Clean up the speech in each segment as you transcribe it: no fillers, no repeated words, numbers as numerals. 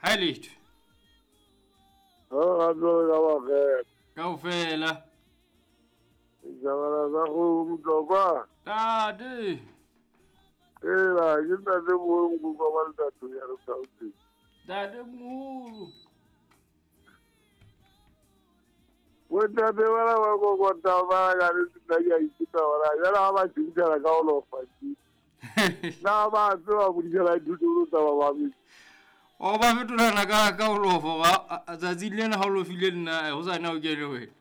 Ha letho. Ha ga tswe ka ba ge. Kaofela. Jabala sa go motlokwa. Tate. Ela ke ntate mo nkutlwa wa ntate ya re Gauteng. Tate moholo. Bontate bana ba kokota ba ka re nna ke a ithuta gona jale ga ba tšhintšhana ka go lofa na ba tseba bodisela dithuto tsa ba babedi. O ba fetolana ka go lofa ga tsatsi lena ga o lofile nna go sa na o kene wena.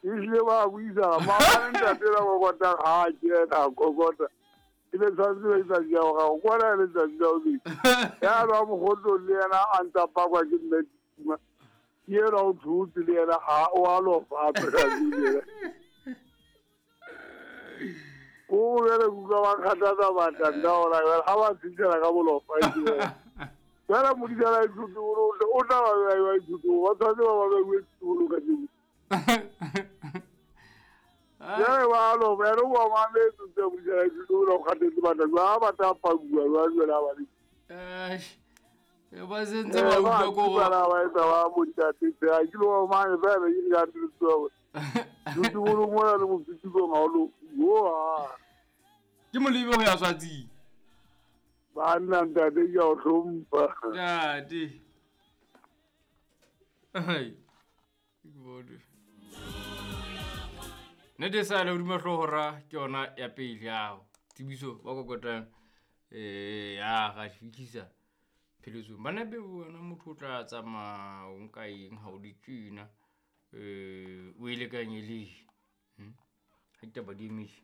Ehlile ba buisana maobane ntate la kokota ga a kena a kokota e be tshwanetse be letsatsi la gago kwana e letsatsi la bobedi ya lwa mogotlong le yena a ntsa pakwa ke mme Tuma ke yena o thotse le yena a o a lofa a tsatsi le ko bjale kuka ba kgathatsa batla nna gona jale ga ba tshintšhela ka bolofa jale modisana ithuti o tla ba bea ithuti ba tshwanetse ba ba beiwe ditolo ka jeno jale ba lofa ene o ba mametse tse modisana ithuti o la o kgathetse batla jwa ba tla pakuwa jwa jale ba le Ba sentse ba utlwa ko go ba etsa ba montate tse a ke lo mane ba be ke ka tsoa ditubolo mona le mofitiko ga o lo yo a ke molebe go ya swatsing banna ntate ke a o hlompha tate. Ai, ke bone nnete sa le hodima hloohora ke yona ya pele yao tsebiso ba kokotang ya ga fitlhisa pheletsong bana be wena motho o tla tsamaya o nka eng ha o le tjena o e lekanye le ha ditaba di emise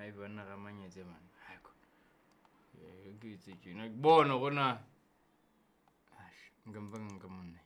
ai banna ga manyetse man ha ko ke etse tjena ke bona gona nka mpa nka monna.